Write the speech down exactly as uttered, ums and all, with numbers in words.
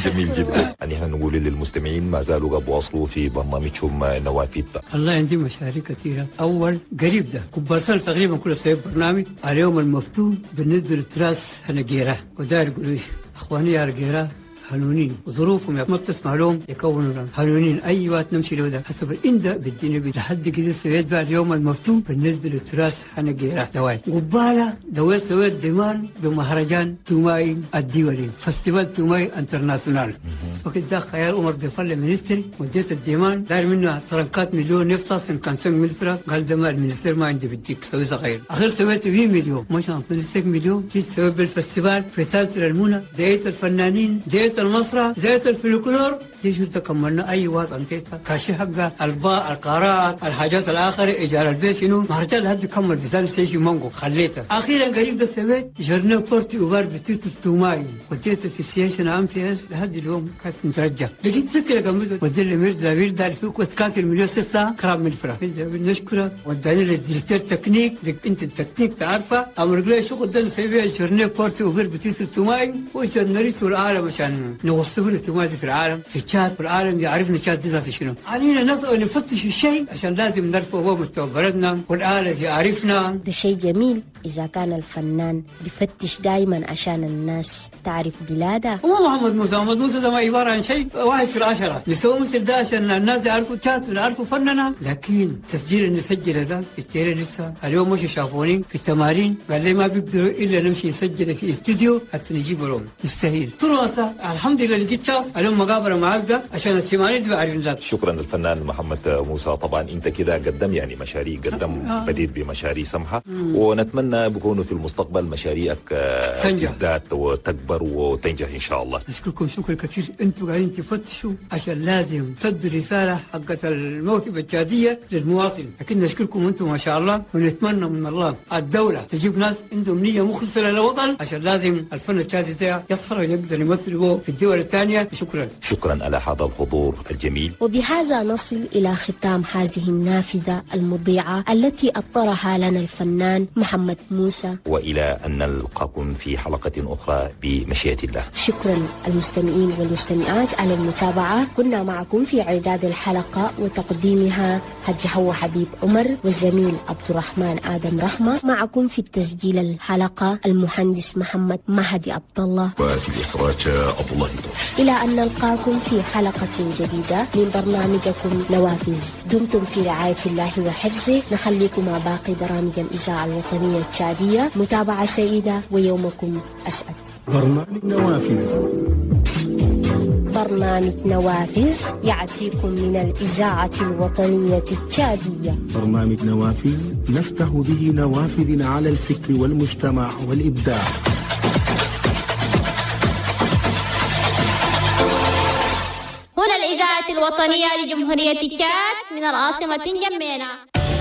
جميل جدا. يعني احنا نقول للمستمعين ما زالوا بواصلوا في برنامجهم نوافذ. الله عندي مشاريع كثيرة. أول قريب ده كبار تقريبا كل سنة برنامج اليوم المفتوح بالنسبة للتراث هنجيرة، وداير يقولوا أخواني يا رجيرة هنونين وظروفهم ما بتسمح لهم يكونوا لهم هنونين. اي وقت نمشي له ده حسب الانده بالدنيا لحد كده سويت بقى اليوم المفتوح بالنسبة للتراث حنجيرة دواي قباله دويت سويت ديمان بمهرجان توماي الدولي festival توماي international. وقت ده خيال عمر دفل ministre وديت الديمان داير منه ترنكات مليون نفطه كان ملفرة قال ده ما ال ministère ما عندي بديك سوي صغير. اخير سويت مية مليون مش عن مليون جيت سويت بال festival في ثالث المونه ديت الفنانين ديت المسرح زيت الفلكلور دي شو تكملنا اي وقت انتيتها كاشي حقه الباء القارات الحاجات الاخرة ايجار البيت شنو مهرجان لحد كمل بثاني سيشي مانجو خليته. اخيرا قريب ده سويت journée porte ouverte بتيت التوماي وديت في السياسة عام في لحد اليوم كانت مترجع لقيت فكرة كملت ودي ميرد لابير دار فيك وتكاتل مليون ستة كرام من الفرح نشكره وداني لل directeur technique انت التكنيك تعرفه امر لي شغل ده نسوي journée porte ouverte بتيت التوماي وجنريت العالم عشان نوصفه التوماي في العالم في تشاد والعالم يعرفنا تشاد دي ذات شنو. علينا نفتش الشيء عشان لازم نرفع هو مستوى بلدنا والعالم يعرفنا. ده شيء جميل إذا كان الفنان بيفتش دايما عشان الناس تعرف بلاده. هو محمد موسى محمد موسى ده ما عبارة عن شيء واحد في العشرة نسوي مثل ده عشان الناس يعرفوا تشاد ويعرفوا فننا. لكن تسجيل اللي نسجله ده في التيري لسه اليوم مش شافوني في التمارين قال لي ما بيقدروا إلا نمشي نسجله في استوديو حتى نجيبه لهم مستحيل. فرصة الحمد لله لقيت شخص اليوم مقابلة معاك ده عشان السمانين تبقى عارفين ذاته. شكرا للفنان محمد موسى. طبعا انت كده قدم يعني مشاريع قدم بديت بمشاريع سمحة ونتمنى بكونوا في المستقبل مشاريعك تزداد وتكبر وتنجح ان شاء الله. نشكركم شكر كثير، انتم قاعدين تفتشوا عشان لازم تدي رسالة حقت الموهبة التشادية للمواطن، لكن نشكركم انتم ما شاء الله ونتمنى من الله الدولة تجيب ناس عندهم نية مخلصة للوطن عشان لازم الفن التشادي ده يظهر ويقدر يمثل في الدول الثانية. شكرا. شكرا على هذا الحضور الجميل. وبهذا نصل إلى ختام هذه النافذة المضيعة التي أطرها لنا الفنان محمد موسى، وإلى أن نلقاكم في حلقة أخرى بمشيئة الله. شكرا المستمعين والمستمعات على المتابعة. كنا معكم في إعداد الحلقة وتقديمها حج حوا حبيب عمر والزميل عبد الرحمن آدم رحمة، معكم في التسجيل الحلقة المهندس محمد مهدي عبد الله، وفي الإخراج عبد الله دوش. إلى أن نلقاكم في حلقة جديدة من برنامجكم نوافذ، دمتم في رعاية الله وحفظه. نخليكم مع باقي برامج الإذاعة الوطنية التشادية. متابعة سعيدة ويومكم أسعد. برنامج نوافذ برنامج نوافذ يأتيكم من الإذاعة الوطنية التشادية. برنامج نوافذ نفتح به نوافذ على الفكر والمجتمع والإبداع. هنا الإذاعة الوطنية لجمهورية تشاد من العاصمة جمينة.